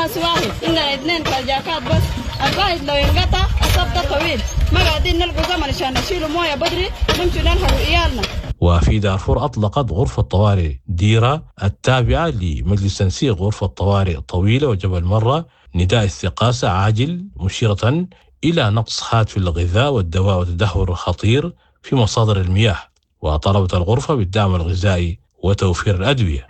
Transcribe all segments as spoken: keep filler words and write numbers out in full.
باص واحد، عندنا اثنين كرجاكات بس، الواحد لو انقطع الصف ده طويل، ما قاعدين نلقوا زمن عشان نشيلوا مويه بدري نمشي ننهروا عيالنا. وفي دارفور أطلقت غرفة طوارئ ديرة التابعة لمجلس تنسيق غرفة طوارئ طويلة وجبل مرة نداء استغاثة عاجل، مشيرة إلى نقص حاد في الغذاء والدواء وتدهور خطير في مصادر المياه، وطلبت الغرفة بالدعم الغذائي وتوفير الأدوية.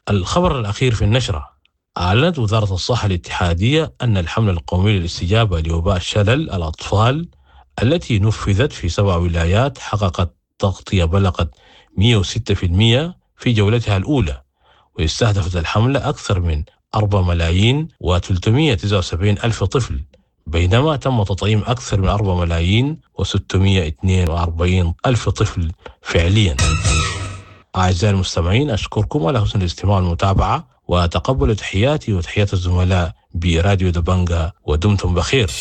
الخبر الأخير في النشرة: أعلنت وزارة الصحة الاتحادية أن الحملة القومية للاستجابة لوباء شلل الأطفال التي نفذت في سبع ولايات حققت تغطية بلغت مئة وستة في المئة في جولتها الأولى، واستهدفت الحملة أكثر من أربعة ملايين وثلاثمئة وتسعة وسبعين ألف طفل، بينما تم تطعيم أكثر من أربعة ملايين وستمئة واثنين وأربعين ألف طفل فعليا. أعزائي المستمعين، أشكركم على حسن الاستماع والمتابعة، وتقبلوا تحياتي وتحيات الزملاء براديو دبنجا، ودمتم بخير.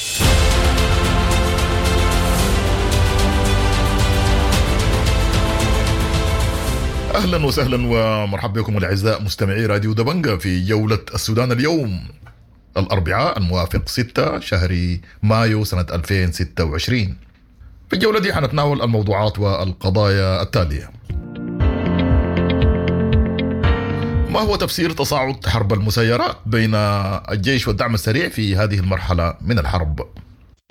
أهلا وسهلا ومرحبا بكم الأعزاء مستمعي راديو دبنجا في جولة السودان اليوم الأربعاء الموافق ستة شهر مايو سنة ألفين وستة وعشرين. في الجولة دي حنتناول الموضوعات والقضايا التالية: ما هو تفسير تصاعد حرب المسيرات بين الجيش والدعم السريع في هذه المرحلة من الحرب؟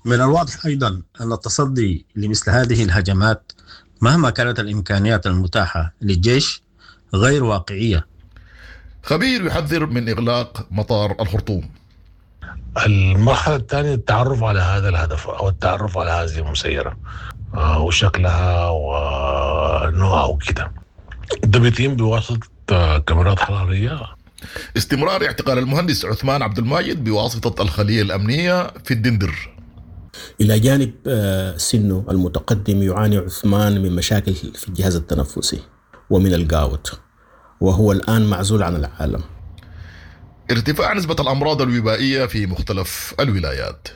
من الواضح أيضا أن التصدي لمثل هذه الهجمات مهما كانت الإمكانيات المتاحة للجيش غير واقعية. خبير يحذر من إغلاق مطار الخرطوم. المرحلة الثانية التعرف على هذا الهدف أو التعرف على هذه المسيرة وشكلها ونوعها وكده، ده بيتم بواسطة كاميرات حرارية. استمرار اعتقال المهندس عثمان عبد الماجد بواسطة الخلية الأمنية في الدندر. إلى جانب سنه المتقدم يعاني عثمان من مشاكل في الجهاز التنفسي ومن الجاوت، وهو الآن معزول عن العالم. ارتفاع نسبة الأمراض الوبائية في مختلف الولايات.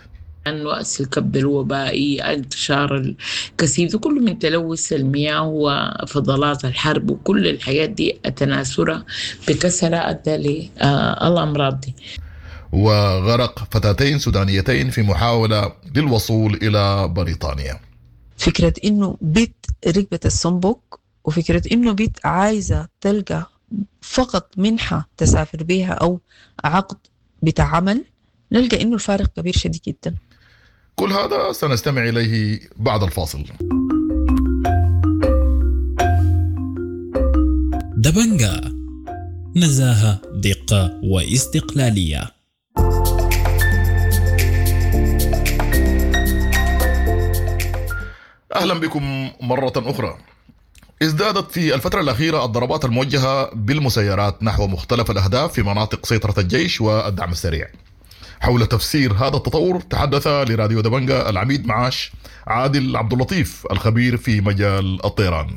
عن وأس الكبد الوبائي، انتشار الكثيف، كله من تلوث المياه وفضلات الحرب وكل الحاجات دي التناثرها بكثرة أدى للأمراض دي. وغرق فتاتين سودانيتين في محاولة للوصول إلى بريطانيا. فكرة إنه بيت ركبة الصنبوك، وفكرة إنه بيت عايزة تلقى فقط منحة تسافر بيها أو عقد بتاع عمل، نلقى إنه الفارق كبير شديد جدا. كل هذا سنستمع إليه بعد الفاصل. دبنجا، نزاهة، دقة واستقلالية. أهلا بكم مرة أخرى. ازدادت في الفترة الأخيرة الضربات الموجهة بالمسيرات نحو مختلف الأهداف في مناطق سيطرة الجيش والدعم السريع. حول تفسير هذا التطور تحدث لراديو دبنجا العميد معاش عادل عبد اللطيف الخبير في مجال الطيران.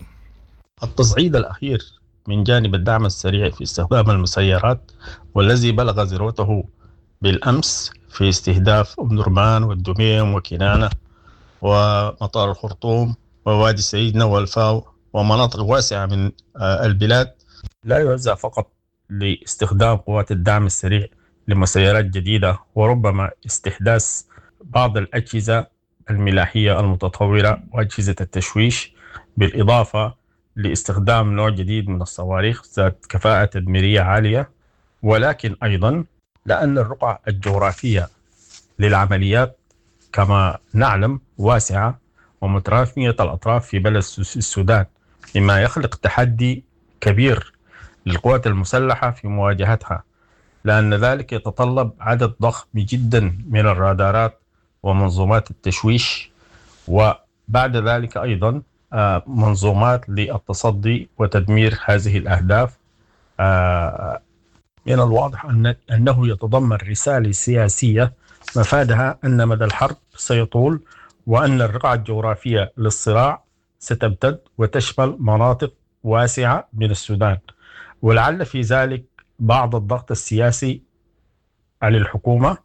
التصعيد الأخير من جانب الدعم السريع في استخدام المسيرات والذي بلغ ذروته بالأمس في استهداف أم درمان والدميم وكنانة ومطار الخرطوم ووادي سيدنا والفاو ومناطق واسعة من البلاد، لا يوزع فقط لاستخدام قوات الدعم السريع لمسيرات جديدة وربما استحداث بعض الأجهزة الملاحية المتطورة وأجهزة التشويش، بالإضافة لاستخدام نوع جديد من الصواريخ ذات كفاءة تدميرية عالية، ولكن أيضا لأن الرقعة الجغرافية للعمليات كما نعلم واسعة ومترامية الأطراف في بلد السودان، مما يخلق تحدي كبير للقوات المسلحة في مواجهتها، لأن ذلك يتطلب عدد ضخم جدا من الرادارات ومنظومات التشويش، وبعد ذلك أيضا منظومات للتصدي وتدمير هذه الأهداف. من الواضح أن أنه يتضمن رسالة سياسية مفادها أن مدى الحرب سيطول، وأن الرقعة الجغرافية للصراع ستمتد وتشمل مناطق واسعة من السودان، ولعل في ذلك بعض الضغط السياسي على الحكومة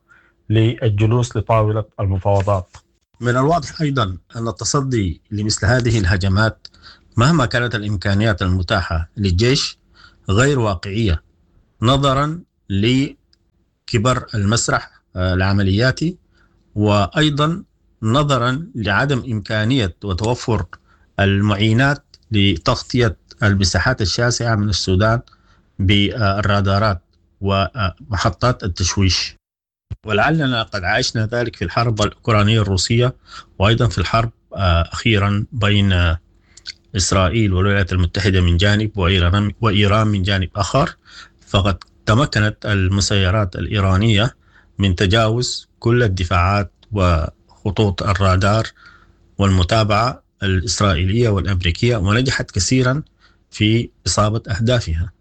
للجلوس لطاولة المفاوضات. من الواضح أيضا أن التصدي لمثل هذه الهجمات مهما كانت الإمكانيات المتاحة للجيش غير واقعية، نظرا كبر المسرح العملياتي، وأيضا نظرا لعدم إمكانية وتوفر المعينات لتغطية المساحات الشاسعة من السودان بالرادارات ومحطات التشويش. ولعلنا قد عايشنا ذلك في الحرب الأوكرانية الروسية، وأيضا في الحرب أخيرا بين إسرائيل والولايات المتحدة من جانب وإيران, وإيران من جانب آخر. فقد تمكنت المسيرات الإيرانية من تجاوز كل الدفاعات وخطوط الرادار والمتابعة الإسرائيلية والأمريكية، ونجحت كثيرا في إصابة أهدافها.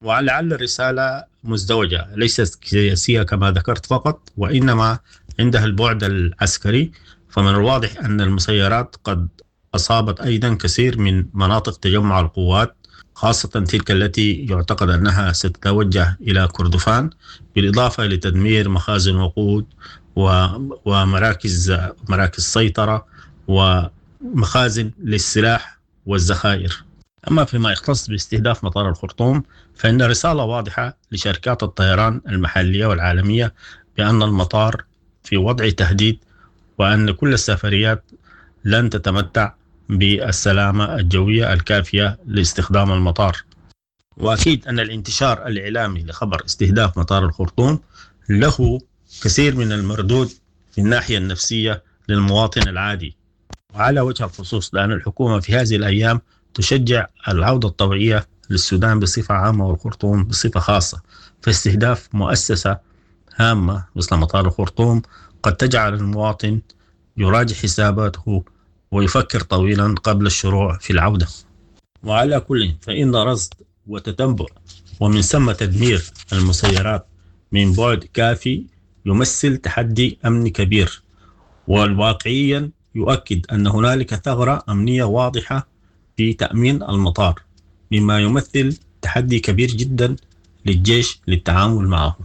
ولعل الرسالة مزدوجة، ليست سياسية كما ذكرت فقط، وإنما عندها البعد العسكري. فمن الواضح أن المسيرات قد أصابت أيضا كثير من مناطق تجمع القوات، خاصة تلك التي يعتقد أنها ستتوجه إلى كردفان، بالإضافة لتدمير مخازن وقود ومراكز مراكز سيطرة ومخازن للسلاح والذخائر. أما فيما يختص باستهداف مطار الخرطوم، فإن رسالة واضحة لشركات الطيران المحلية والعالمية بأن المطار في وضع تهديد، وأن كل السفريات لن تتمتع بالسلامة الجوية الكافية لاستخدام المطار. وأكيد أن الانتشار الإعلامي لخبر استهداف مطار الخرطوم له كثير من المردود في الناحية النفسية للمواطن العادي، وعلى وجه الخصوص لأن الحكومة في هذه الأيام تشجع العودة الطوعية للسودان بصفة عامة والخرطوم بصفة خاصة. فاستهداف مؤسسة هامة مثل مطار الخرطوم قد تجعل المواطن يراجع حساباته ويفكر طويلا قبل الشروع في العودة. وعلى كل فإن رصد وتتبع ومن ثم تدمير المسيرات من بعد كافي يمثل تحدي أمني كبير، والواقعيا يؤكد أن هنالك ثغرة أمنية واضحة في تأمين المطار، مما يمثل تحدي كبير جدا للجيش للتعامل معه.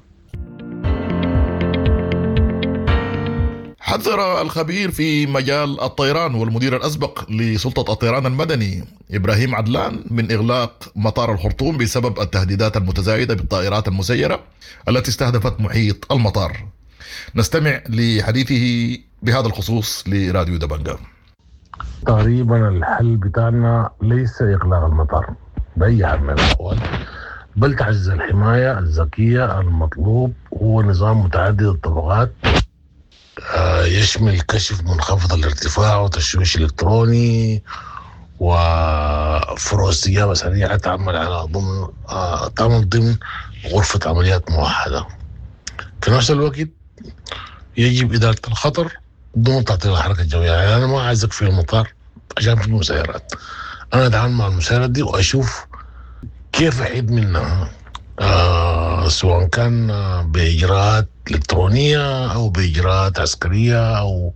حذر الخبير في مجال الطيران والمدير الأسبق لسلطة الطيران المدني إبراهيم عدلان من إغلاق مطار الخرطوم بسبب التهديدات المتزايدة بالطائرات المسيرة التي استهدفت محيط المطار. نستمع لحديثه بهذا الخصوص لراديو دبنجا. تقريبا الحل بتاعنا ليس إغلاق المطار بأي حال من الأحوال، بل تعزيز الحماية الذكية. المطلوب هو نظام متعدد الطبقات يشمل كشف منخفض الارتفاع وتشويش إلكتروني وفروع استجابة سريعة تعمل على ضمن تعمل ضمن غرفة عمليات موحدة. في نفس الوقت يجب إدارة الخطر دون تعطيل الحركة الجوية. يعني أنا ما عايزك في المطار عشان في مسيرات، أنا أتعامل مع المسيرات دي وأشوف كيف أحيد منها، آه سواء كان بإجراءات إلكترونية أو بإجراءات عسكرية أو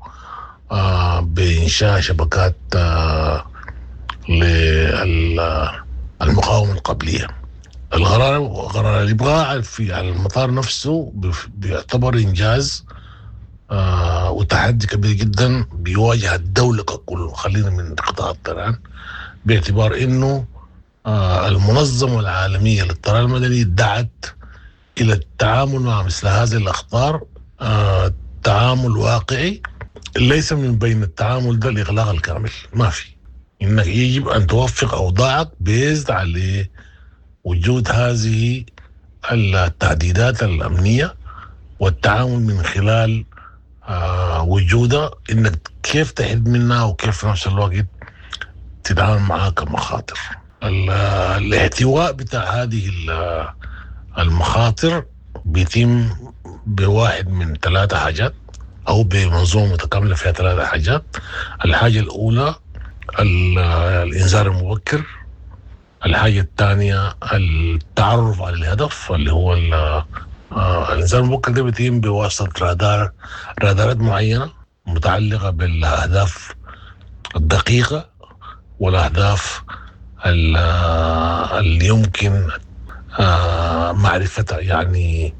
آه بإنشاء شبكات آه للمقاومة القبلية. القرار قرار الإبقاء في على المطار نفسه بيعتبر إنجاز آه وتحدي كبير جدا بيواجه الدولة ككل، خلينا من قطاع الطيران، باعتبار إنه آه المنظمة العالمية للطيران المدني دعت إلى التعامل مع مثل هذه الأخطار آه تعامل واقعي، ليس من بين التعامل ده الإغلاق الكامل. ما في، إنك يجب أن توفق أوضاعك بيزد على وجود هذه التهديدات الأمنية والتعامل من خلال آه وجودها، إنك كيف تحد منها وكيف في نفس الوقت تتعامل معها كمخاطر. الاحتواء بتاع هذه المخاطر بيتم بواحد من ثلاثة حاجات أو بمنظومة متكاملة فيها ثلاثة حاجات. الحاجة الأولى الإنذار المبكر، الحاجة الثانية التعرف على الهدف اللي هو الإنذار المبكر ده بيتم بواسطة رادار رادارات معينة متعلقة بالأهداف الدقيقة والأهداف اللي يمكن معرفتها، يعني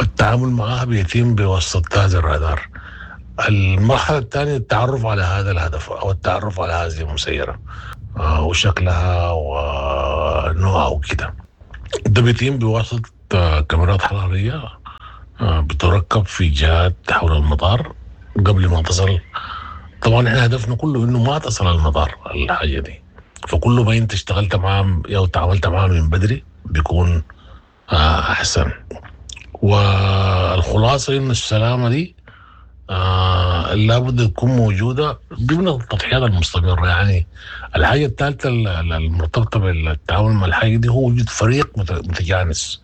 التعامل معها بيتم بواسطة هذا الرادار. المرحلة الثانية التعرف على هذا الهدف أو التعرف على هذه المسيرة وشكلها ونوعها وكده، ده بيتم بواسطة كاميرات حرارية بتركب في جهات حول المطار قبل ما تصل. طبعا احنا هدفنا كله انه ما تصل المطار الحاجة دي، فكل ما انت اشتغلت معاه او تعاملت معاه من بدري بيكون احسن. والخلاصة انه السلامة دي آه لابد تكون موجودة ضمن التضحيات المستمرة. يعني الحاجة الثالثة المرتبطة بالتعامل مع الحاجة دي هو وجود فريق متجانس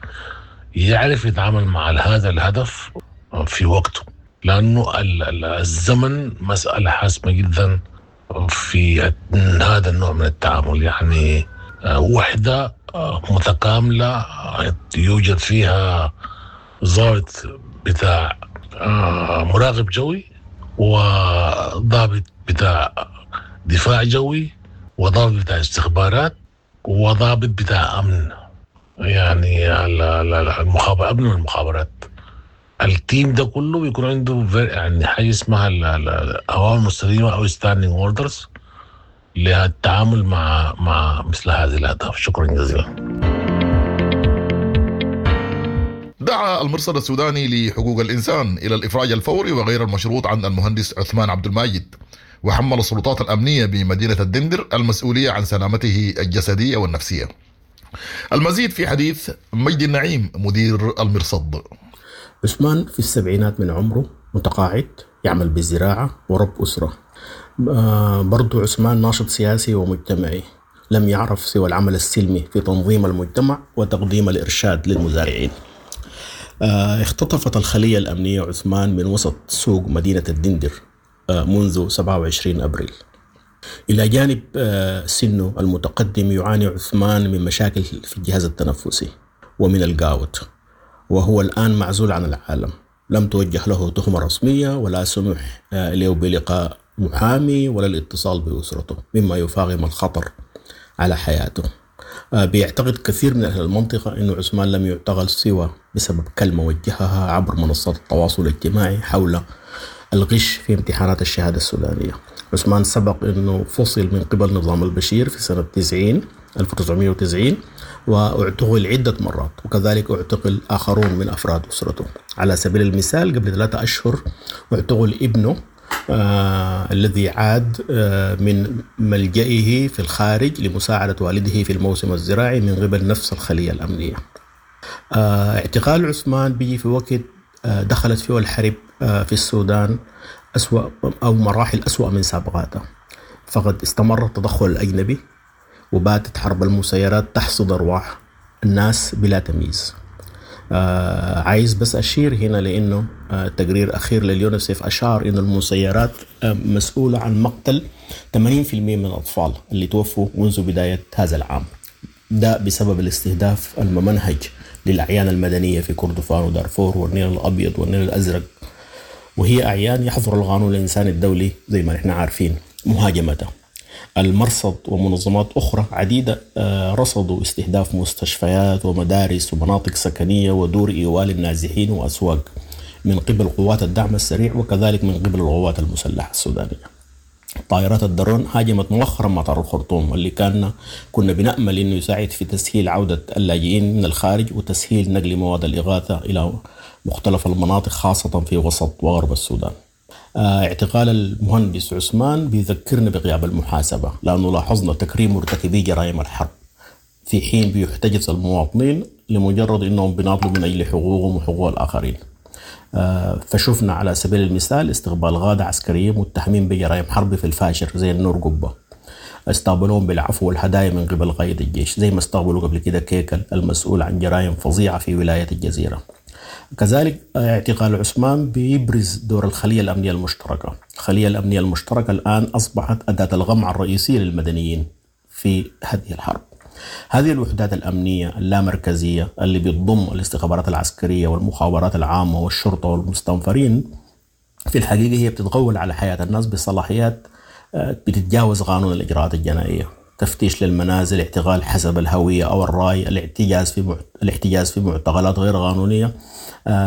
يعرف يتعامل مع هذا الهدف في وقته، لأنه الزمن مسألة حاسمة جدا في هذا النوع من التعامل. يعني وحدة متكاملة يوجد فيها ضابط بتاع مراقب جوي وضابط بتاع دفاع جوي وضابط بتاع استخبارات وضابط بتاع أمن، يعني المخابرات، أمن المخابرات. ال team ده كله بيكون عنده يعني حاجة اسمها الأوامر المستديمة أو standing orders للتعامل مع مع مثل هذه الأهداف. شكرا جزيلا. دعا المرصد السوداني لحقوق الإنسان إلى الإفراج الفوري وغير المشروط عن المهندس عثمان عبد الماجد، وحمل السلطات الأمنية بمدينة الدندر المسؤولية عن سلامته الجسدية والنفسية. المزيد في حديث مجدي النعيم مدير المرصد. عثمان في السبعينات من عمره، متقاعد، يعمل بالزراعة ورب أسرة. برضو عثمان ناشط سياسي ومجتمعي، لم يعرف سوى العمل السلمي في تنظيم المجتمع وتقديم الإرشاد للمزارعين. اختطفت الخلية الأمنية عثمان من وسط سوق مدينة الدندر منذ سبعة وعشرين أبريل. إلى جانب سنه المتقدم يعاني عثمان من مشاكل في الجهاز التنفسي ومن الجاوت، وهو الآن معزول عن العالم. لم توجه له تهمة رسمية ولا سمح له بلقاء محامي ولا الاتصال بأسرته، مما يفاقم الخطر على حياته. بيعتقد كثير من أهل المنطقة أن عثمان لم يعتقل سوى بسبب كلمة وجهها عبر منصات التواصل الاجتماعي حول الغش في امتحانات الشهادة السودانية. عثمان سبق أنه فصل من قبل نظام البشير في سنة تسعين ألف وتسعمائة وتسعين واعتقل عدة مرات، وكذلك اعتقل آخرون من أفراد أسرته. على سبيل المثال قبل ثلاثة أشهر اعتقل ابنه آه الذي عاد آه من ملجئه في الخارج لمساعدة والده في الموسم الزراعي من قبل نفس الخلية الأمنية. آه اعتقال عثمان بيجي في وقت آه دخلت فيه الحرب آه في السودان أسوأ أو مراحل أسوأ من سابقاتها، فقد استمر التدخل الأجنبي وباتت حرب المسيرات تحصد أرواح الناس بلا تمييز. آه عايز بس أشير هنا لأنه آه تقرير أخير لليونيسيف أشار إنه المسيرات آه مسؤولة عن مقتل ثمانين بالمئة من الأطفال اللي توفوا منذ بداية هذا العام، ده بسبب الاستهداف الممنهج للأعيان المدنية في كردفان ودارفور والنيل الأبيض والنيل الأزرق، وهي أعيان يحظر القانون الإنساني الدولي زي ما نحن عارفين مهاجمتها. المرصد ومنظمات أخرى عديدة رصدوا استهداف مستشفيات ومدارس ومناطق سكنية ودور إيوال النازحين وأسواق من قبل قوات الدعم السريع وكذلك من قبل القوات المسلحة السودانية. طائرات الدرون هاجمت مؤخرا مطار الخرطوم واللي كان كنا بنأمل أنه يساعد في تسهيل عودة اللاجئين من الخارج وتسهيل نقل مواد الإغاثة إلى مختلف المناطق خاصة في وسط وغرب السودان. اعتقال المهندس عثمان بيذكرنا بغياب المحاسبة، لأنه لاحظنا تكريم مرتكبي جرائم الحرب في حين بيحتجز المواطنين لمجرد أنهم بيناضلوا من أجل حقوقهم وحقوق الآخرين. فشفنا على سبيل المثال استقبال غادة عسكرية متهمين بجرائم حرب في الفاشر زي النور قبة، استقبلوهم بالعفو والهدايا من قبل قائد الجيش زي ما استقبلوا قبل كده كيكل المسؤول عن جرائم فظيعة في ولاية الجزيرة. كذلك اعتقال عثمان بيبرز دور الخلية الأمنية المشتركة. الخلية الأمنية المشتركة الآن أصبحت أداة الغمع الرئيسية للمدنيين في هذه الحرب. هذه الوحدات الأمنية اللامركزية اللي بتضم الاستخبارات العسكرية والمخابرات العامة والشرطة والمستنفرين في الحقيقة هي بتتغول على حياة الناس بصلاحيات بتتجاوز قانون الإجراءات الجنائية. تفتيش للمنازل، اعتقال حسب الهوية أو الرأي، الاحتجاز في الاحتجاز في معتقلات غير قانونية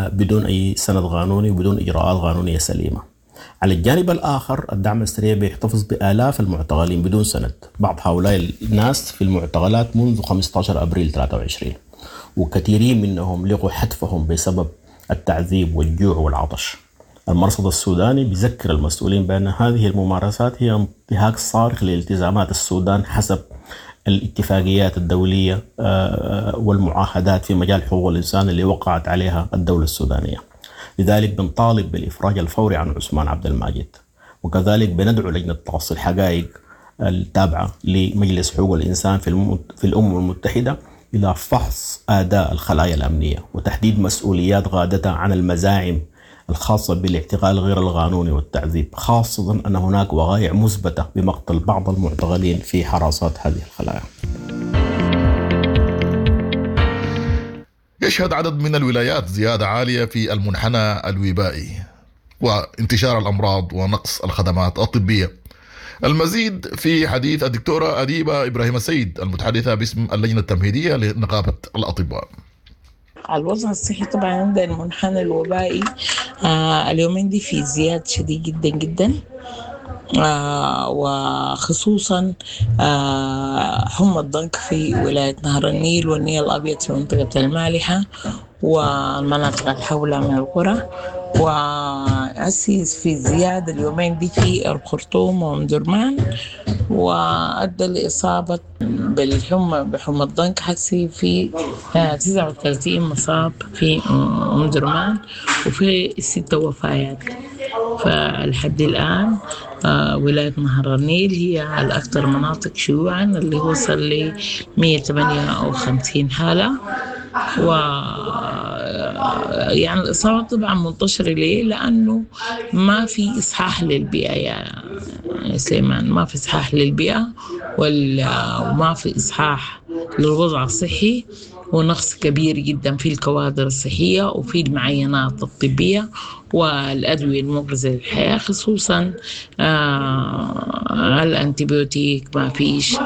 بدون أي سند قانوني وبدون إجراءات قانونية سليمة. على الجانب الآخر الدعم السريع بيحتفظ بآلاف المعتقلين بدون سند، بعض هؤلاء الناس في المعتقلات منذ خمسة عشر أبريل ثلاثة وعشرين، وكثيرين منهم لقوا حتفهم بسبب التعذيب والجوع والعطش. المرصد السوداني بيذكر المسؤولين بأن هذه الممارسات هي انتهاك صارخ لالتزامات السودان حسب الاتفاقيات الدولية والمعاهدات في مجال حقوق الإنسان اللي وقعت عليها الدولة السودانية. لذلك بنطالب بالإفراج الفوري عن عثمان عبد الماجد، وكذلك بندعو لجنة تقصي الحقائق التابعة لمجلس حقوق الإنسان في, في الأمم المتحدة إلى فحص أداء الخلايا الأمنية وتحديد مسؤوليات غادتها عن المزاعم الخاصة بالاعتقال غير القانوني والتعذيب، خاصة أن هناك وقائع مثبتة بمقتل بعض المعتقلين في حراسات هذه الخلايا. يشهد عدد من الولايات زيادة عالية في المنحنى الوبائي وانتشار الأمراض ونقص الخدمات الطبية. المزيد في حديث الدكتورة أديبة إبراهيم السيد المتحدثة باسم اللجنة التمهيدية لنقابة الأطباء. الوضع الصحي طبعا عندنا المنحنى الوبائي آه اليومين دي في زياد شديد جدا جدا، آه وخصوصا آه حمى الضنك في ولاية نهر النيل والنيل الأبيض في منطقة المالحة والمناطق الحولة من القرى، وأسيس في زيادة اليومين دي في الخرطوم وأم درمان، وأدى لإصابة بالحمى بحمى الضنك حسي في تسعة وثلاثين مصاب في أم درمان وفي ستة وفيات. فلحد الآن ولاية نهر النيل هي الأكثر مناطق شيوعا اللي وصل ل مئة وثمانية وخمسين حالة، و يعني الإصابة طبعا منتشرة. ليه؟ لأنه ما في إصحاح للبيئة يا سليمان، ما في إصحاح للبيئة وما في إصحاح للوضع الصحي، ونقص كبير جدا في الكوادر الصحية وفي المعاينات الطبية والأدوية المغذية للحياة، خصوصا آه الأنتبيوتيك ما فيش،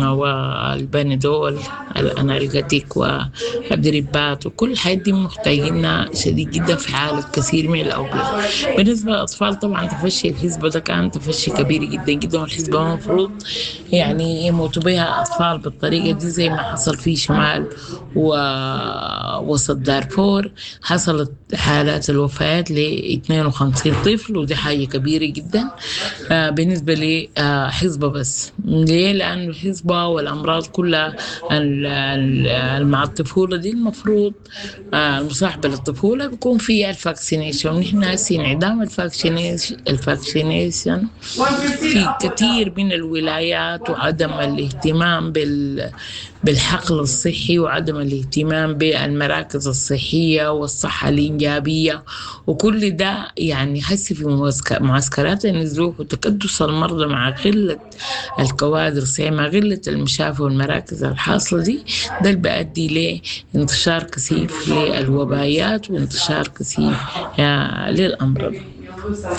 والبندول الأنالجاتيك والدريبات وكل الحاجات دي محتاجينها شديد جدا في حالة كثير من الأوبئة. بالنسبة للأطفال طبعا تفشي الحسبة ده كان تفشي كبير جدا جدا، والحسبة المفروض يعني يموتوا بها أطفال بالطريقة دي زي ما حصل في شمال ووسط دارفور، حصلت حالات الوفيات ل اثنين وخمسين طفل، ودي حاجة كبيرة جدا بالنسبة لحزبة بس. ليه؟ لأن الحزبة والأمراض كلها مع الطفولة دي المفروض المصاحبة للطفولة بيكون فيها ال vaccination. نحن هسي انعدام ال vaccination في كثير من الولايات، وعدم الاهتمام بال بالحقل الصحي وعدم الاهتمام بالمراكز الصحية والصحة الإنجابية وكل ده، يعني حسي في معسكرات النزوح وتكدس المرضى مع قلة الكوادر الصحية مع قلة المشافي والمراكز الحاصلة دي، ده اللي بيؤدي لانتشار كثيف للوبايات وانتشار كثيف للأمراض،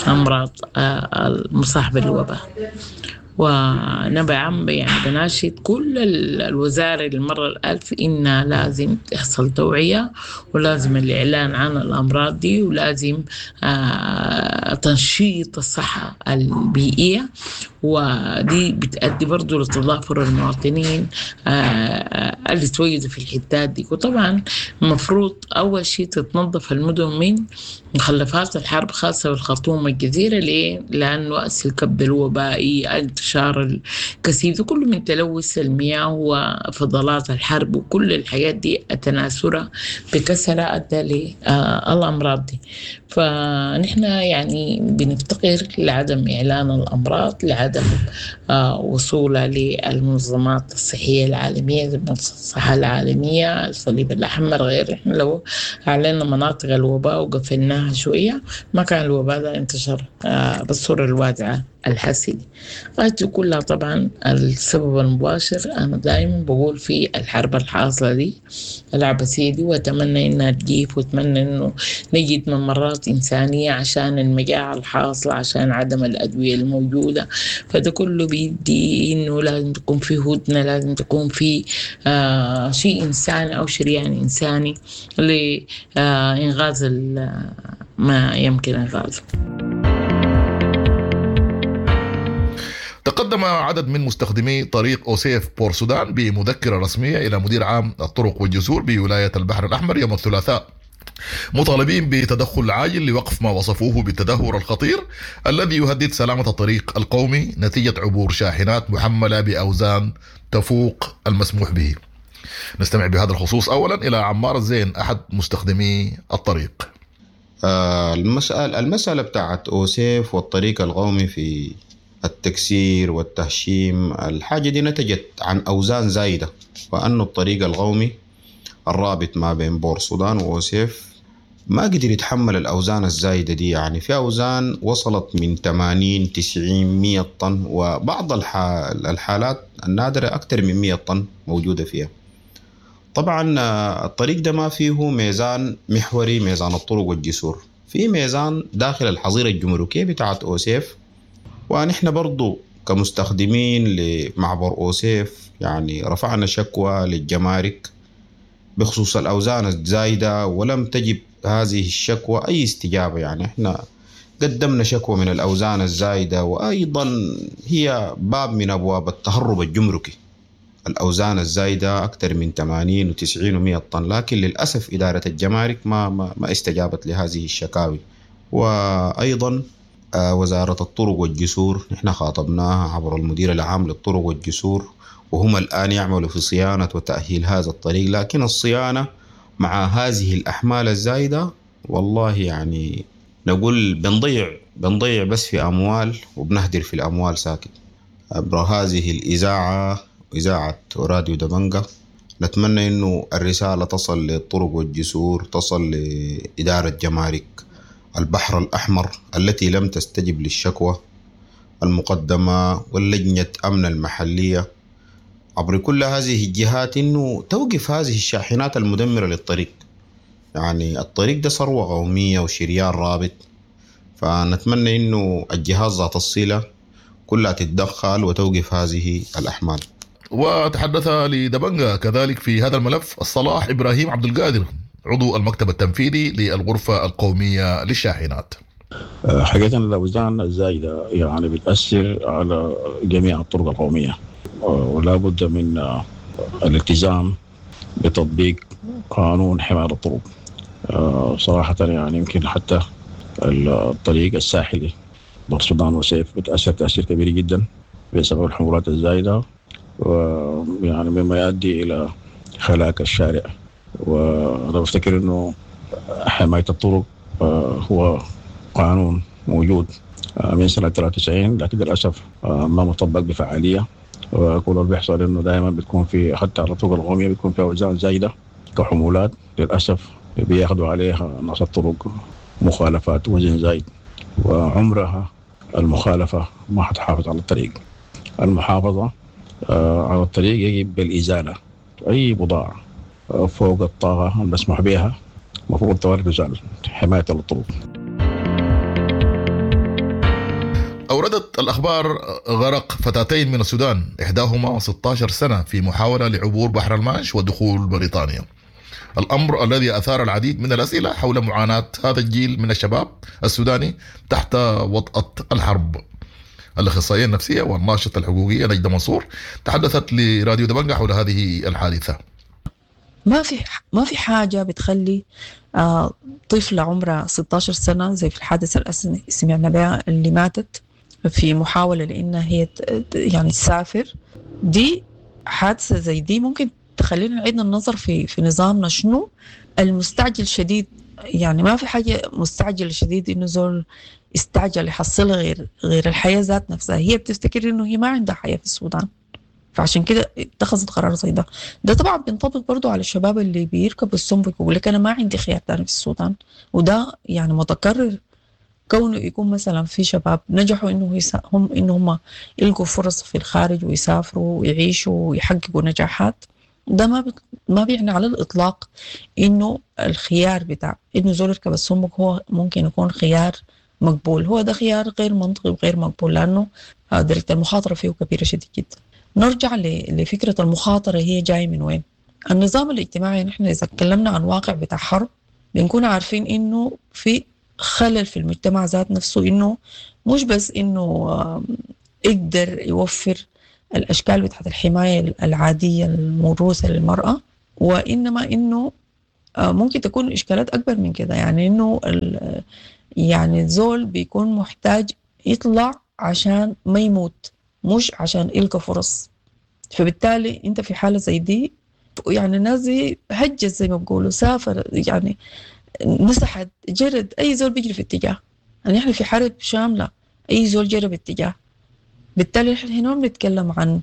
أمراض المصاحبة للوباء. ونبع يعني بناشد كل الوزارة للمرة الألف إن لازم تحصل توعية، ولازم الإعلان عن الأمراض دي، ولازم آه تنشيط الصحة البيئية، ودي بتأدي برضو لتضافر المواطنين آه اللي توجدوا في الحتات دي. وطبعا المفروض أول شيء تتنظف المدن من مخلفات الحرب، خاصة بالخرطوم والجزيرة. ليه؟ لأنه أس الكب الوبائي، انتشار الكثيف ده كله من تلوث المياه وفضلات الحرب وكل الحاجات دي التناثرة بكثرة أدى للأمراض دي. فنحن يعني بنفتقر لعدم إعلان الأمراض، لعدم وصولها للمنظمات الصحية العالمية زي منظمة الصحة العالمية، الصليب الأحمر، غير. إحنا لو أعلنا مناطق الوباء وقفلناها شوية ما كان الوباء ده انتشر بالصورة الواسعة الحاسة دي. غايته كلها طبعا السبب المباشر أنا دائما بقول في الحرب الحاصلة دي العبثية دي، وأتمنى إنها تجيب، وأتمنى إنه نجد ممرات إنسانية عشان المجاعة الحاصلة، عشان عدم الأدوية الموجودة. فده كله بيدي إنه لازم تكون في هدنة، لازم تكون في آه شيء إنساني أو شريان إنساني لإنغاز ما يمكن إنغازه. تقدم عدد من مستخدمي طريق أوسيف بور سودان بمذكرة رسمية إلى مدير عام الطرق والجسور بولاية البحر الأحمر يوم الثلاثاء مطالبين بتدخل عاجل لوقف ما وصفوه بالتدهور الخطير الذي يهدد سلامة الطريق القومي نتيجة عبور شاحنات محملة بأوزان تفوق المسموح به. نستمع بهذا الخصوص أولا إلى عمار الزين أحد مستخدمي الطريق. آه المسألة المسألة بتاعت أوسيف والطريق القومي في التكسير والتهشيم، الحاجة دي نتجت عن أوزان زايدة، وأنه الطريق القومي الرابط ما بين بور السودان وأوسيف ما قدر يتحمل الأوزان الزايدة دي. يعني في أوزان وصلت من ثمانين تسعين مية طن، وبعض الحالات النادرة أكثر من مية طن موجودة فيها. طبعا الطريق ده ما فيه ميزان محوري، ميزان الطرق والجسور، في ميزان داخل الحظيرة الجمركية بتاعت أوسيف. ونحن برضو كمستخدمين لمعبر أوسيف يعني رفعنا شكوى للجمارك بخصوص الأوزان الزايدة، ولم تجب هذه الشكوى أي استجابة. يعني احنا قدمنا شكوى من الأوزان الزايدة، وأيضا هي باب من أبواب التهرب الجمركي. الأوزان الزايدة أكثر من ثمانين وتسعين ومية طن، لكن للأسف إدارة الجمارك ما, ما, ما استجابت لهذه الشكاوي. وأيضا وزارة الطرق والجسور نحن خاطبناها عبر المدير العام للطرق والجسور، وهم الآن يعملوا في صيانة وتأهيل هذا الطريق، لكن الصيانة مع هذه الأحمال الزايدة والله يعني نقول بنضيع بنضيع بس في أموال وبنهدر في الأموال ساكت. عبر هذه الإذاعة، إذاعة راديو دبنجة، نتمنى إنه الرسالة تصل للطرق والجسور، تصل لإدارة جمارك البحر الأحمر التي لم تستجب للشكوى المقدمة، واللجنة أمن المحلية، عبر كل هذه الجهات إنه توقف هذه الشاحنات المدمرة للطريق. يعني الطريق ده ثروة قومية وشريان رابط، فنتمنى إنه الجهات ذات الصلة كلها تتدخل وتوقف هذه الأحمال. وتحدث لدبنجة كذلك في هذا الملف الصلاح إبراهيم عبد القادر عضو المكتب التنفيذي للغرفة القومية للشاحنات. حقيقة الأوزان الزايدة يعني بتأثر على جميع الطرق القومية، ولا بد من الالتزام بتطبيق قانون حماية الطرق. صراحة يعني يمكن حتى الطريق الساحلي بورسودان وسيف بتأثر تأثير كبير جدا بسبب الحمولات الزايدة، ويعني مما يؤدي إلى هلاك الشارع. وأنا بفتكر إنه حماية الطرق هو قانون موجود من سنة ثلاثة وتسعين، لكن للأسف ما مطبق بفعالية. وكل اللي بيحصل إنه دائما بتكون في حتى على الطرق القومية بتكون في أوزان زايدة كحمولات، للأسف بياخدوا عليها ناس الطرق مخالفات وزن زايد، وعمرها المخالفة ما حتحافظ على الطريق. المحافظة على الطريق يجب بالإزالة، أي بضاعة فوق الطاقة المسموح بها المفروض توارد تزال حماية للطرق. أوردت الأخبار غرق فتاتين من السودان إحداهما ستة عشر سنة في محاولة لعبور بحر المانش ودخول بريطانيا، الأمر الذي أثار العديد من الأسئلة حول معاناة هذا الجيل من الشباب السوداني تحت وطأة الحرب. الأخصائية النفسية والناشطة الحقوقية نجدة منصور تحدثت لراديو دبنجة حول هذه الحادثة. ما في ما في حاجة بتخلي آه طفلة عمرها ستة عشر سنة زي في الحادثة اللي سمعنا بها اللي ماتت في محاولة لأنها هي يعني تسافر، دي حادثة زي دي ممكن تخلينا نعيد النظر في في نظامنا. شنو المستعجل شديد؟ يعني ما في حاجة مستعجلة شديد إنه زول استعجل يحصلها غير غير الحياة ذات نفسها. هي بتفتكر إنه هي ما عندها حياة في السودان، فعشان كده اتخذت قرار زي ده. ده طبعا بينطبق برضو على الشباب اللي بيركبوا السمبك ويقول لك أنا ما عندي خيار تاني في السودان، وده يعني متكرر كونه يكون مثلا في شباب نجحوا إنه يسا هم إنه هم يلقوا فرص في الخارج ويسافروا ويعيشوا ويحققوا نجاحات. ده ما بت... ما بيعني على الإطلاق إنه الخيار بتاع إنه زول يركب السمك هو ممكن يكون خيار مقبول. هو ده خيار غير منطقي وغير مقبول، لأنه درجة المخاطرة فيه كبيرة شديد جدا. نرجع ل... لفكرة المخاطرة هي جاية من وين؟ النظام الاجتماعي نحن إذا تكلمنا عن واقع بتاع حرب بنكون عارفين إنه في خلل في المجتمع ذات نفسه، إنه مش بس إنه يقدر يوفر الأشكال بتاعت الحماية العادية الموروثة للمرأة، وإنما إنه ممكن تكون إشكالات أكبر من كده. يعني إنه يعني الزول بيكون محتاج يطلع عشان ما يموت، مش عشان يلقى فرص. فبالتالي أنت في حالة زي دي يعني الناس دي هجت زي ما بيقولوا، سافر يعني نسحت جرد، أي زول بيجري في اتجاه. يعني إحنا في حرب شاملة، أي زول جرى باتجاه. بالتالي إحنا هنا بنتكلم عن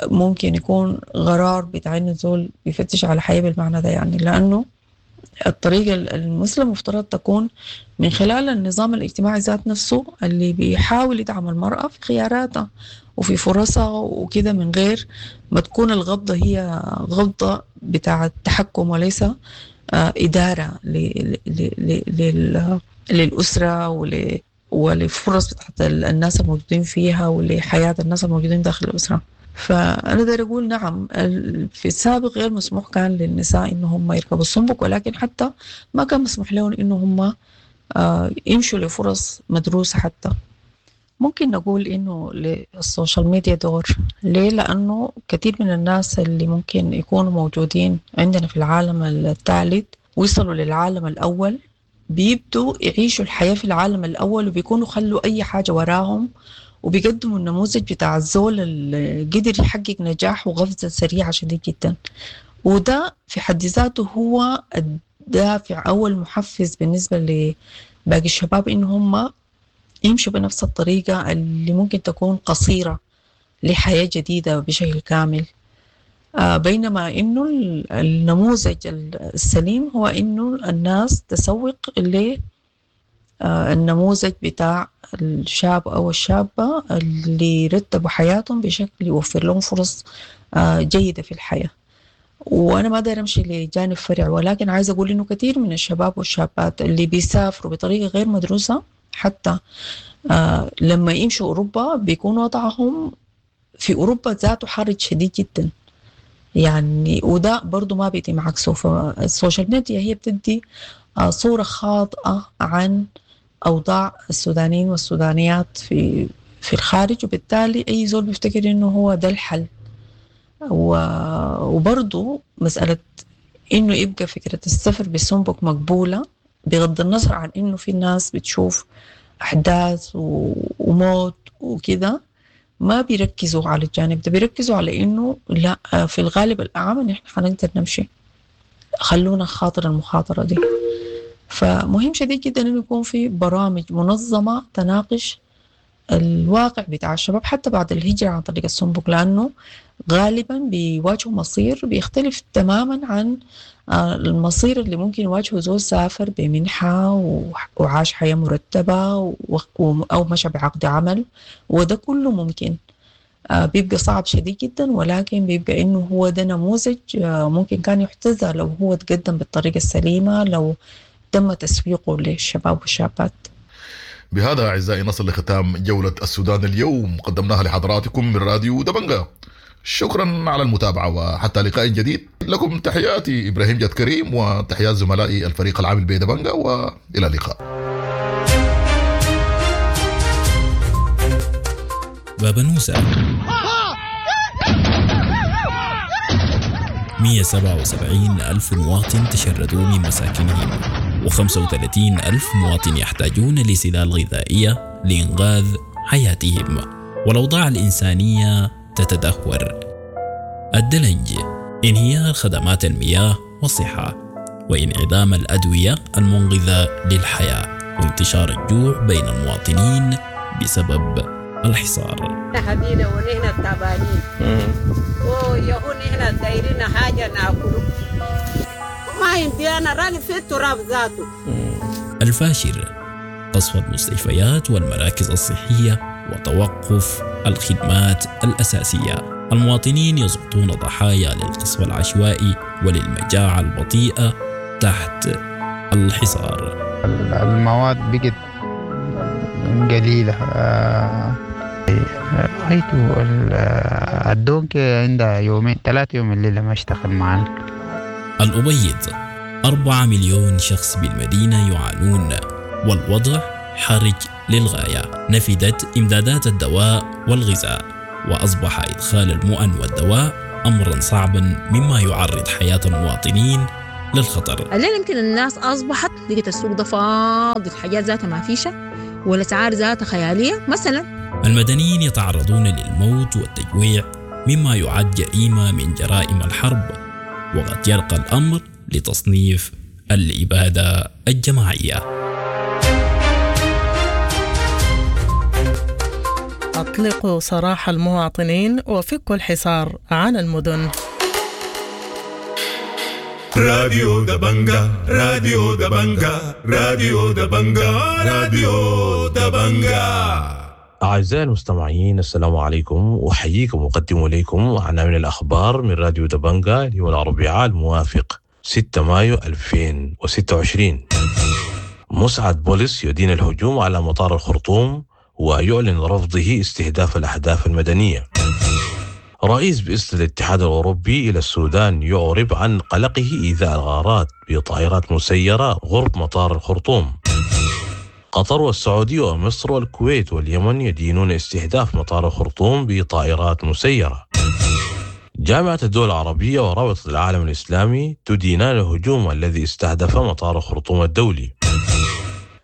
ممكن يكون غرار بتاع إنه الزول بيفتش على حياة بالمعنى ده، يعني لأنه الطريقة المثلى مفترض تكون من خلال النظام الاجتماعي ذات نفسه اللي بيحاول يدعم المرأة في خياراتها وفي فرصها وكده، من غير ما تكون الغضة هي غضة بتاع التحكم وليس إدارة للأسرة ول ولفرص بتاعت الناس الموجودين فيها ولحياة الناس الموجودين داخل الأسرة. فأنا داير أقول نعم، في السابق غير مسموح كان للنساء إن هم يركبوا السنبك، ولكن حتى ما كان مسموح لهم إن هم يمشوا لفرص مدروسة. حتى ممكن نقول إنه لل social media دور. ليه؟ لأنه كثير من الناس اللي ممكن يكونوا موجودين عندنا في العالم الثالث ويصلوا للعالم الأول بيبدوا يعيشوا الحياة في العالم الأول، وبيكونوا خلوا أي حاجة وراهم، وبيقدموا النموذج بتاع الزول اللي قدر يحقق نجاح وقفزة سريعة شديد جدا. وده في حد ذاته هو الدافع أو المحفز بالنسبة لباقي الشباب إن هم يمشوا بنفس الطريقة اللي ممكن تكون قصيرة لحياة جديدة بشكل كامل. بينما إنه النموذج السليم هو إنه الناس تسوق للنموذج بتاع الشاب أو الشابة اللي رتبوا حياتهم بشكل يوفر لهم فرص جيدة في الحياة. وأنا ما داير أمشي لجانب فرع، ولكن عايز أقول إنه كثير من الشباب والشابات اللي بيسافروا بطريقة غير مدروسة حتى لما يمشوا أوروبا بيكون وضعهم في أوروبا ذاته حرج شديد جدا يعني، وده برضو ما بيتم عكسه. فال social media هي بتدي صورة خاطئة عن أوضاع السودانيين والسودانيات في في الخارج، وبالتالي أي زول بيفتكر إنه هو ده الحل. وبرضو مسألة إنه يبقى فكرة السفر بالسنبك مقبولة بغض النظر عن إنه في ناس بتشوف أحداث وموت وكده، ما بيركزوا على الجانب ده، بيركزوا على إنه لا، في الغالب الأعم إن إحنا حنقدر نمشي، خلونا خاطر المخاطرة دي. فمهم شديد جدا إنه يكون في برامج منظمة تناقش الواقع بتاع الشباب حتى بعد الهجرة عن طريق السنبك، لأنه غالبا بيواجهوا مصير بيختلف تماما عن المصير اللي ممكن يواجهه زول سافر بمنحة وعاش حياة مرتبة أو مشى بعقد عمل، وده كله ممكن بيبقى صعب شديد جدا، ولكن بيبقى إنه هو ده نموذج ممكن كان يحتذى لو هو تقدم بالطريقة السليمة، لو تم تسويقه للشباب والشابات. بهذا أعزائي نصل لختام جولة السودان اليوم، قدمناها لحضراتكم من راديو دبنجا. شكرا على المتابعة، وحتى لقاء جديد لكم تحياتي إبراهيم جاد كريم وتحيات زملائي الفريق العامل بدبنجا، وإلى اللقاء. بابنوسة مئة وسبعة وسبعين ألف مواطن تشردوا من مساكنهم، وخمسة وثلاثين ألف مواطن يحتاجون لسلال غذائية لإنقاذ حياتهم، والأوضاع الإنسانية تتدهور. الدلنج، انهيار خدمات المياه والصحة، وانعدام الأدوية المنقذة للحياة، وانتشار الجوع بين المواطنين بسبب الحصار. حبينا ونحن تعبانين ويهون نحن دايرين حاجة ناكله ما عندي أنا راني في التراب ذاته. الفاشر، قصف المستشفيات والمراكز الصحية وتوقف الخدمات الأساسية. المواطنين يسقطون ضحايا للقصف العشوائي وللمجاعة البطيئة تحت الحصار. المواد بقت قليلة، رأيت الدونك عندها يومين ثلاثة يوم الليلة ما اشتغل معنا. الأبيض، أربعة مليون شخص بالمدينة يعانون والوضع حرج للغاية. نفدت إمدادات الدواء والغذاء، وأصبح إدخال المؤن والدواء أمرا صعبا، مما يعرض حياة المواطنين للخطر. الليلة يمكن الناس أصبحت لقيت السوق ده فاضي، الحاجات ذاتها ما فيشة والأسعار ذاتها خيالية مثلا. المدنيين يتعرضون للموت والتجويع مما يعد جريمة من جرائم الحرب، وقد يرقى الأمر لتصنيف الإبادة الجماعية. أطلقوا سراح المواطنين وفكوا الحصار عن المدن. راديو دبنجا، راديو دبنجا، راديو دبنجا، راديو دبنجا. أعزائي المستمعين، السلام عليكم، أحييكم وأقدم إليكم عناوين الأخبار من راديو دبنجا اليوم الأربعاء الموافق ستة مايو ألفين وستة وعشرين. مسعد بوليس يدين الهجوم على مطار الخرطوم ويعلن رفضه استهداف الأهداف المدنية. رئيس بعثة الاتحاد الأوروبي إلى السودان يعرب عن قلقه إزاء الغارات بطائرات مسيرة غرب مطار الخرطوم. قطر والسعودية ومصر والكويت واليمن يدينون استهداف مطار الخرطوم بطائرات مسيرة. جامعة الدول العربية ورابطة العالم الإسلامي تدينان الهجوم الذي استهدف مطار الخرطوم الدولي.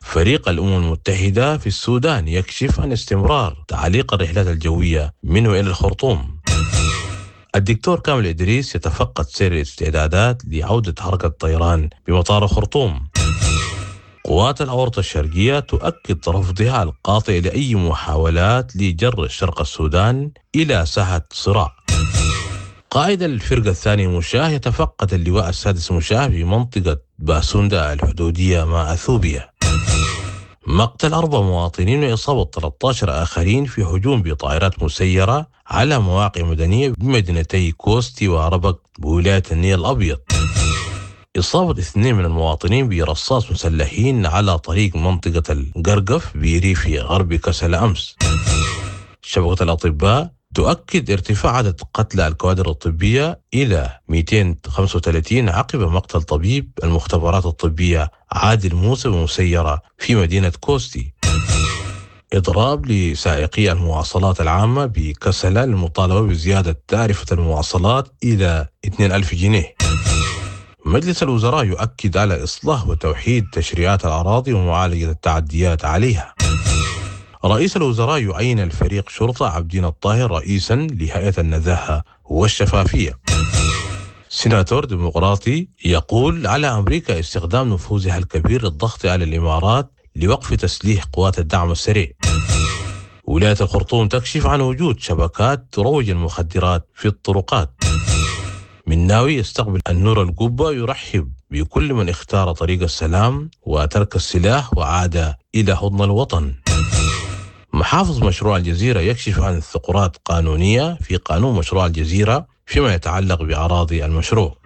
فريق الأمم المتحدة في السودان يكشف عن استمرار تعليق الرحلات الجوية من وإلى الخرطوم. الدكتور كامل إدريس يتفقد سير الاستعدادات لعودة حركة الطيران بمطار الخرطوم. قوات الأورطة الشرقية تؤكد رفضها القاطع لأي محاولات لجر شرق السودان إلى ساحة صراع. قائد الفرقة الثانية مشاه يتفقد اللواء السادس مشاه في منطقة باسوندا الحدودية مع أثيوبيا. مقتل أربع مواطنين وإصابة ثلاثة عشر آخرين في هجوم بطائرات مسيرة على مواقع مدنية بمدينتي كوستي وربك بولاية النيل الأبيض. إصابة اثنين من المواطنين برصاص مسلحين على طريق منطقة القرقف بريف غرب كسل أمس. شبكة الأطباء تؤكد ارتفاع عدد قتلى الكوادر الطبية إلى مئتين وخمسة وثلاثين عقب مقتل طبيب المختبرات الطبية عادل موسى بمسيرة في مدينة كوستي. إضراب لسائقي المواصلات العامة بكسلة للمطالبة بزيادة تعرفة المواصلات إلى اثنين ألف جنيه. مجلس الوزراء يؤكد على إصلاح وتوحيد تشريعات الأراضي ومعالجة التعديات عليها. رئيس الوزراء يعين الفريق شرطة عبدين الطاهر رئيسا لهيئة النزاهة والشفافية. سيناتور ديمقراطي يقول على أمريكا استخدام نفوذها الكبير للضغط على الإمارات لوقف تسليح قوات الدعم السريع. ولاية الخرطوم تكشف عن وجود شبكات تروج المخدرات في الطرقات. مناوي يستقبل النور القبة يرحب بكل من اختار طريق السلام وترك السلاح وعاد إلى حضن الوطن. محافظ مشروع الجزيرة يكشف عن ثغرات قانونية في قانون مشروع الجزيرة فيما يتعلق بأراضي المشروع.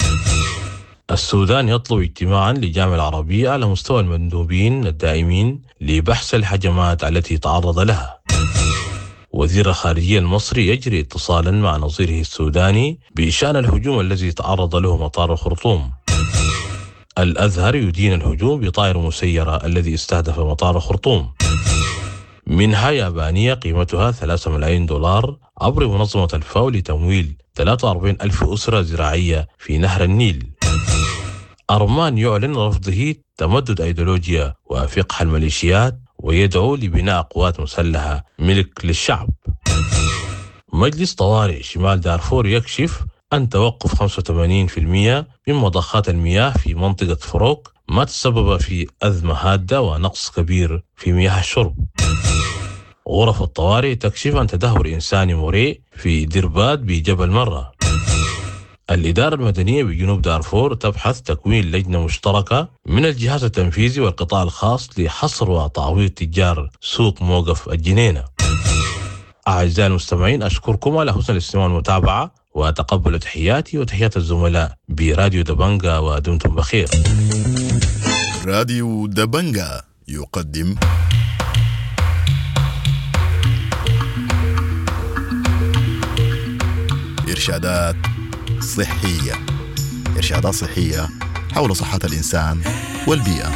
السودان يطلب اجتماعا للجامعة العربية على مستوى المندوبين الدائمين لبحث الهجمات التي تعرض لها. وزير الخارجية المصري يجري اتصالا مع نظيره السوداني بشأن الهجوم الذي تعرض له مطار الخرطوم. الأزهر يدين الهجوم بطائر مسيرة الذي استهدف مطار الخرطوم. منها يابانية قيمتها ثلاثة ملايين دولار عبر منظمة الفاو لتمويل ثلاثة وأربعين ألف أسرة زراعية في نهر النيل. أرمان يعلن رفضه تمدد أيديولوجيا وفقه الميليشيات ويدعو لبناء قوات مسلحة ملك للشعب. مجلس طوارئ شمال دارفور يكشف أن توقف خمسة وثمانين بالمئة من مضخات المياه في منطقة فروق ما تسبب في أزمة هادة ونقص كبير في مياه الشرب. غرف الطوارئ تكشف عن تدهور إنساني مريء في دربات بجبل مرة. الإدارة المدنية بجنوب دارفور تبحث تكوين لجنة مشتركة من الجهاز التنفيذي والقطاع الخاص لحصر وتعويض تجار سوق موقف الجنينة. أعزائي المستمعين، أشكركم على حسن الاستماع والمتابعة، وتقبلوا تحياتي وتحيات الزملاء براديو دبنجا، ودمتم بخير. راديو دبنجا يقدم إرشادات صحية. إرشادات صحية حول صحة الإنسان والبيئة.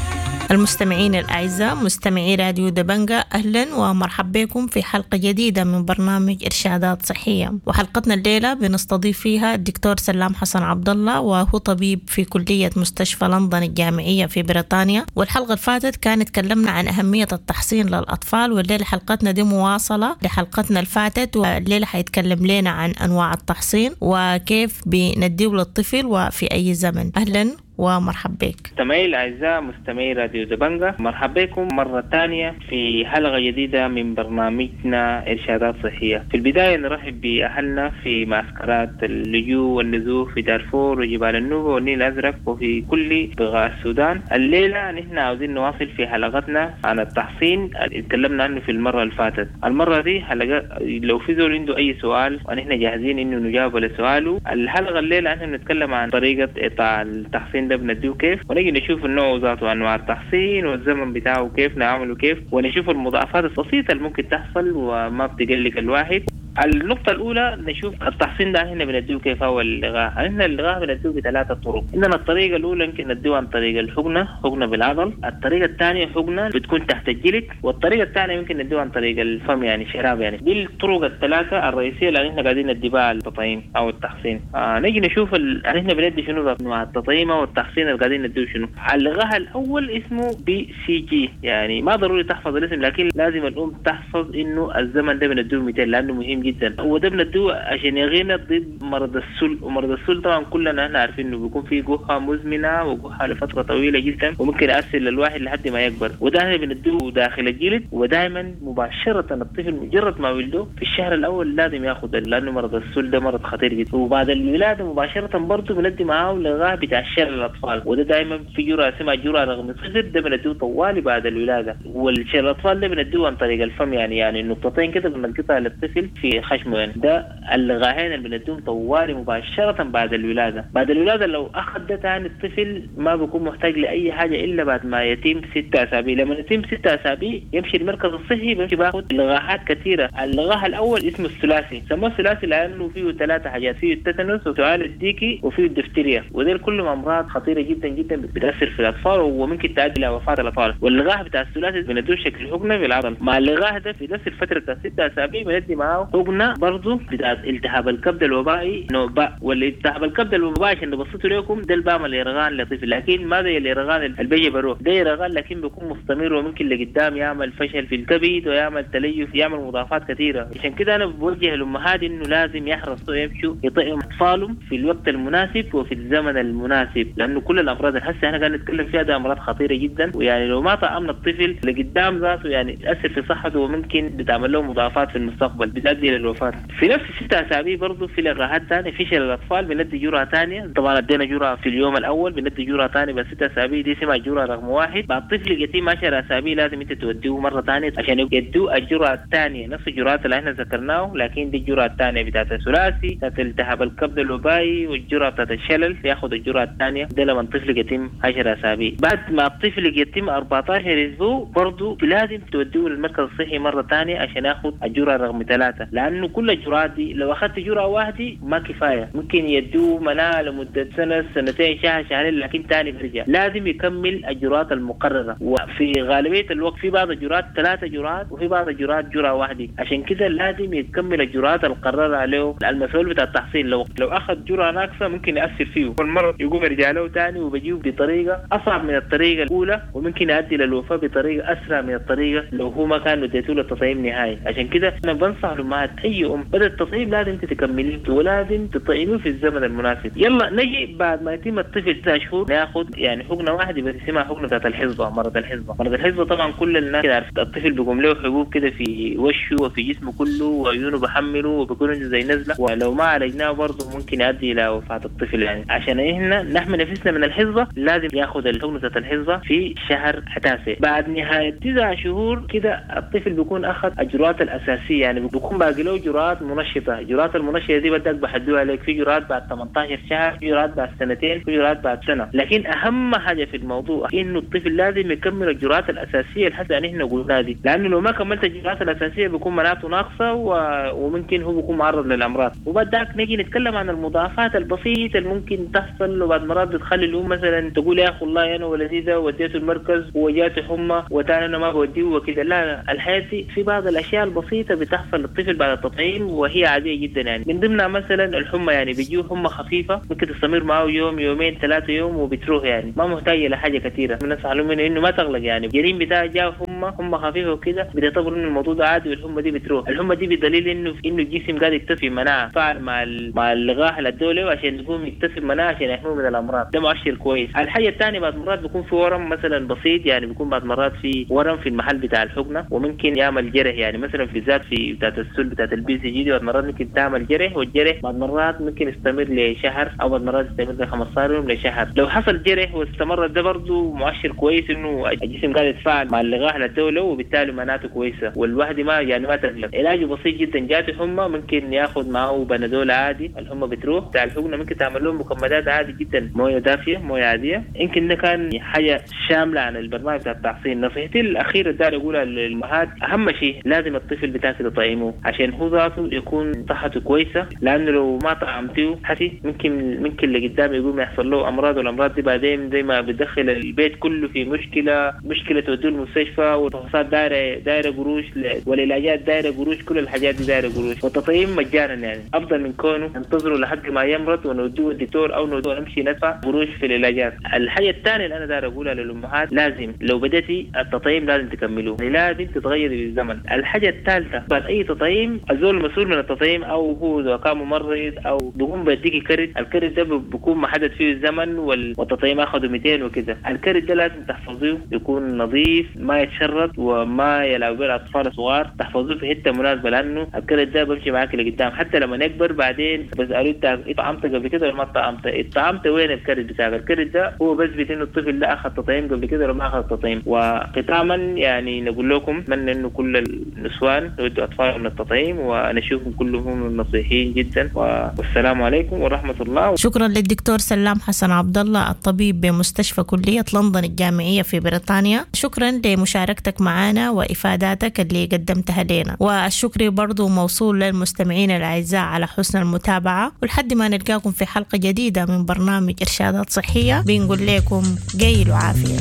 المستمعين الأعزاء مستمعي راديو دبنجة، أهلا ومرحبا بكم في حلقة جديدة من برنامج إرشادات صحية. وحلقتنا الليلة بنستضيف فيها الدكتور سلام حسن عبد الله، وهو طبيب في كلية مستشفى لندن الجامعية في بريطانيا. والحلقة اللي فاتت كانت تكلمنا عن أهمية التحصين للأطفال، والليلة حلقتنا دي مواصلة لحلقتنا اللي فاتت، والليلة حيتكلم لنا عن أنواع التحصين وكيف بنديه للطفل وفي أي زمن. أهلا ومرحبا بك. مستمعي الأعزاء مستمعي راديو دبنجة، مرحبا بكم مرة ثانية في حلقة جديدة من برنامجنا إرشادات صحية. في البداية نرحب بأهلنا في معسكرات اللجوء والنزوح في دارفور وجبال النوبة والنيل الأزرق وفي كل بقاع السودان. الليلة نحن عاوزين نواصل في حلقتنا عن التحصين اللي تكلمنا عنه في المرة اللي فاتت. المرة دي حلقة لو في زول عنده أي سؤال ونحن جاهزين إنه نجاوب على سؤاله. الحلقة الليلة نحن بنتكلم عن طريقة إعطاء التحصين ده بنديه كيف، ونجي نشوف النوع ذاته، انواع التحصين والزمن بتاعه كيف نعمله كيف، ونشوف المضاعفات البسيطة اللي ممكن تحصل وما بتقلق الواحد. النقطة الأولى نشوف التحصين ده احنا بنديه كيف هو اللقاح. احنا اللقاح بنديه بثلاثة طرق. عندنا الطريقة الأولى يمكن نديه عن طريق الحقنة، حقنة بالعضل. الطريقة الثانية حقنة بتكون تحت الجلد، والطريقة الثانية يمكن نديه عن طريق الفم يعني شراب يعني. دي الطرق الثلاثة الرئيسية اللي احنا قاعدين ندي بها التطعيم أو التحصين. آه نجي نشوف ال... احنا بندي شنو انواع التطعيم أو التحصين اللي قاعدين نديه شنو. اللقاح الأول اسمه BCG، يعني ما ضروري تحفظ الاسم لكن لازم الأم تحفظ إنه الزمن ده بنديه مئتين لأنه مهم جدا. هو ده بندوه عشان يغينا ضد مرض السل، ومرض السل طبعا كلنا احنا عارفين انه بيكون فيه جحة مزمنة وجحه لفترة طويلة جدا وممكن يأثر للواحد لحد ما يكبر. وده احنا بندوه داخل الجلد، ودائما مباشرة الطفل مجرد ما ولده في الشهر الاول لازم ياخذ، لانه مرض السل ده مرض خطير جدا. وبعد الولادة مباشرة برضه بندي معاه لقاح بتاع شلل الاطفال، وده دائما في جرعة اسمها جرعة رقم صفر، ده بندوه طوالي بعد الولادة. والشلل الاطفال ده بندوه عن طريق الفم، يعني يعني نقطتين كده بنلقطها للطفل في خشمه يعني. ده اللقاحين اللي بنديهم طوالي مباشرة بعد الولادة. بعد الولادة لو أخذ ده تاني الطفل ما بيكون محتاج لأي حاجة إلا بعد ما يتم ستة أسابيع. لما يتم ستة أسابيع يمشي المركز الصحي بيمشي باخد لقاحات كثيرة. اللقاح الأول اسمه الثلاثي، سموه الثلاثي لأنه فيه ثلاثة حاجات، فيه التتنس وسعال الديكي وفيه الدفتيريا، ودول كلهم أمراض خطيرة جدا جدا بتأثر في الأطفال وممكن تؤدي إلى وفاة الأطفال. واللقاح بتاع الثلاثي بندوه شكل حقنة بالعضل. مع اللقاح ده في نفس الفترة بتاع ستة أسابيع بندي معاه حقنة برضه بتاعت التهاب الكبد الوبائي نوع باء. والالتهاب الكبد الوبائي عشان نبسطه لكم ده البام الإرغان لطفل، لكن ما زي الإرغان اللي بيجي بروح، ده إرغان لكن بيكون مستمر وممكن لقدام يعمل فشل في الكبد ويعمل تليف، يعمل مضاعفات كثيرة. عشان كده أنا بوجه الأمهات إنه لازم يحرصوا يمشوا يطعموا أطفالهم في الوقت المناسب وفي الزمن المناسب، لأنه كل الأمراض اللي هسه احنا قاعدين نتكلم فيها ده أمراض خطيرة جدا، ويعني لو ما طعمنا الطفل لقدام ذاته يعني تأثر في صحته وممكن بتعمل له مضاعفات في المستقبل بتؤدي للوفاة. في نفس الستة أسابيع برضه في لقاحات ثانية في شلل الأطفال بندي جرعة ثانية، طبعا ادينا جرعة في اليوم الأول بندي جرعة ثانية بس ستة أسابيع دي اسمها جرعة رقم واحد. بعد طفل يتم عشر أسابيع لازم أنت توديه مرة ثانية عشان يدوه الجرعة الثانية، نفس الجرعات اللي احنا ذكرناه لكن دي الجرعة الثانية بتاعت الثلاثي بتاعت التهاب الكبد الوبائي والجرعة بتاعت الشلل، ياخذ الجرعة الثانية ده لما الطفل يتم عشر أسابيع. بعد ما الطفل يتم أربعة عشر أسبوع برضه لازم توديه للمركز الصحي مرة ثانية عشان ياخذ الجرعة رقم ثلاثة، لأنه كل الجرعات دي لو أخذت جرعة واحدة ما كفاية، ممكن يدوه مناعة لمدة سنة سنتين شهر شهرين لكن تاني بيرجع. لازم يكمل الجرعات المقررة، وفي غالبية الوقت في بعض الجرعات ثلاثة جرعات وفي بعض الجرعات جرعة واحدة، عشان كده لازم يكمل الجرعات المقررة عليه المسؤول بتاع التحصيل. لو لو أخذ جرعة ناقصة ممكن يأثر فيه والمرض يقوم يرجع له تاني وبيجيه بطريقة أصعب من الطريقة الأولى، وممكن يؤدي للوفاة بطريقة أسرع من الطريقة لو هو ما كان اديته له التطعيم نهائي. عشان كده أنا بنصح الأمهات أي أم بدأ التطعيم لازم تكمليه ولازم تطعميه في الزمن المناسب. يلا نجي بعد ما يتم الطفل تسع شهور ناخذ يعني حقنة واحدة بس اسمها حقنة بتاعت الحصبة، مرض الحصبة. مرض الحصبة طبعا كل الناس كده عارف الطفل بيقوم له حبوب كده في وشه وفي جسمه كله وعيونه بحمله وبيكون عنده زي نزلة، ولو ما عالجناه برضه ممكن يؤدي إلى وفاة الطفل. يعني عشان احنا نحمي نفسنا من الحصبة لازم ياخذ الحقنة بتاعت الحصبة في شهر تاسع. بعد نهاية تسع شهور كده الطفل بيكون أخذ الجرعات الأساسية، يعني بيكون باقي باقي له جرعات منشطه. جرعات المنشطه دي بدك بحدوها لك، في جرعات بعد ثمانية عشر شهر، في جرعات بعد سنتين، في جرعات بعد سنة. لكن اهم حاجة في الموضوع انه الطفل لازم يكمل الجرعات الاساسية اللي حتى نحن قلناها دي، لانه لو ما كملت الجرعات الاساسية بيكون مناعته ناقصه و... وممكن هو بيكون معرض للامراض. وبعد ذاك نجي نتكلم عن المضاعفات البسيطة اللي ممكن تحصل، وبعد مرات بتخلي الام مثلا تقول يا اخي والله انا ولدي ده وديته المركز وجاته حمى وتاني انا ما بوديه وكده. لا لا، الحياة دي في بعض الاشياء البسيطة بتحصل للطفل بعد التطعيم وهي عادية جدا يعني، من ضمنها مثلا الحمى، يعني بيجيه حمى خفيفة ممكن تستمر معه يوم يومين ثلاثة يوم وبتروح، يعني ما محتاجه لحاجة كثيرة. بنصح لهم انه ما تغلق، يعني الجنين بتاعه جاه حمى حمى خفيفة وكده بتعتبر انه الموضوع ده عادي والحمى دي بتروح. الحمى دي بدليل انه انه الجسم قاعد يكتسب مناعة فعل مع مع اللقاح اللي ادوه عشان يقوم يكتسب مناعة عشان يحميه من الامراض، ده مؤشر كويس. الحاجة الثانية بعد مرات بيكون في ورم مثلا بسيط، يعني بيكون بعد مرات في ورم في المحل بتاع الحقنة وممكن يعمل جرح، يعني مثلا في ذات في بتاعت السل بتاعت ال BCG دي بعد مرات ممكن تعمل جرح، والجرح بعد مرات ممكن يستمر لشهر او بعد مرات يستمر ل خمسة عشر يوم لشهر. لو حصل جرح واستمر ده برضه مؤشر كويس انه الجسم قاعد يتفاعل مع اللقاح اللي ادوه وبالتالي مناعته كويسة، والواحد ما يعني ما تقلق. علاجه بسيط جدا، جاته حمى ممكن ياخذ معه بنادول عادي الحمى بتروح. بتاع الحقنة ممكن تعمل لهم مكمدات عادي جدا، مويه دافيه مويه عادية. يمكن ده كان حاجة شاملة عن البرنامج بتاع التحصين. نصيحتي الاخيرة اللي اقولها للامهات، اهم شيء لازم الطفل بتاعك تطعمه عشان هو ذاته يكون صحته كويسة، لانه لو ما طعمتيه حسي ممكن ممكن اللي قدام يقوم يحصل له امراض، والامراض دي بعدين زي ما بتدخل البيت كله في مشكلة، مشكلة توديه المستشفى، والفحوصات دايرة دايرة قروش، والعلاجات دايرة قروش، كل الحاجات دي دايرة قروش. والتطعيم مجانا يعني افضل من كونه ننتظره لحد ما يمرض ونوديه الدكتور او نوديه نمشي ندفع قروش في العلاجات. الحاجة الثانية اللي انا داير اقولها للامهات، لازم لو بدأتي التطعيم لازم تكملوه، يعني لازم تتغيري بالزمن. الحاجة الثالثة بعد اي تطعيم الزول المسؤول من التطعيم او هو اذا كان ممرض او بيقوم بيديكي كرت، الكرت ده بيكون محدد فيه الزمن والتطعيم اخذه مئتين وكده. الكرت ده لازم تحفظيه يكون نظيف ما يتشرط وما يلعب به الاطفال الصغار، تحفظوه في حتة مناسبة لانه الكرت ده بمشي معاك لقدام حتى لما يكبر. بعدين بسالوه انت طعمت قبل كده ولا ما طعمت؟ طعمت وين الكرت بتاعك؟ الكرت ده هو بثبت انه الطفل ده اخذ تطعيم قبل كده ولا ما اخذ تطعيم. وختاما يعني نقول لكم اتمنى انه كل النسوان يودوا اطفالهم للتطعيم ونشوفهم كلهم نصيحين جدا، والسلام عليكم ورحمة الله. شكرا للدكتور سلام حسن عبد الله الطبيب بمستشفى كليه لندن الجامعية في بريطانيا، شكرا لمشاركتك معنا وافاداتك اللي قدمتها لنا، والشكر برضو موصول للمستمعين الاعزاء على حسن المتابعة، ولحد ما نلقاكم في حلقة جديدة من برنامج ارشادات صحية بنقول لكم قيل وعافيه.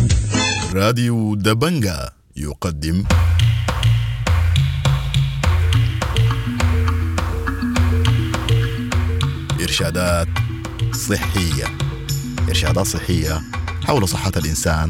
راديو دبنجا يقدم إرشادات صحية، إرشادات صحية حول صحة الإنسان.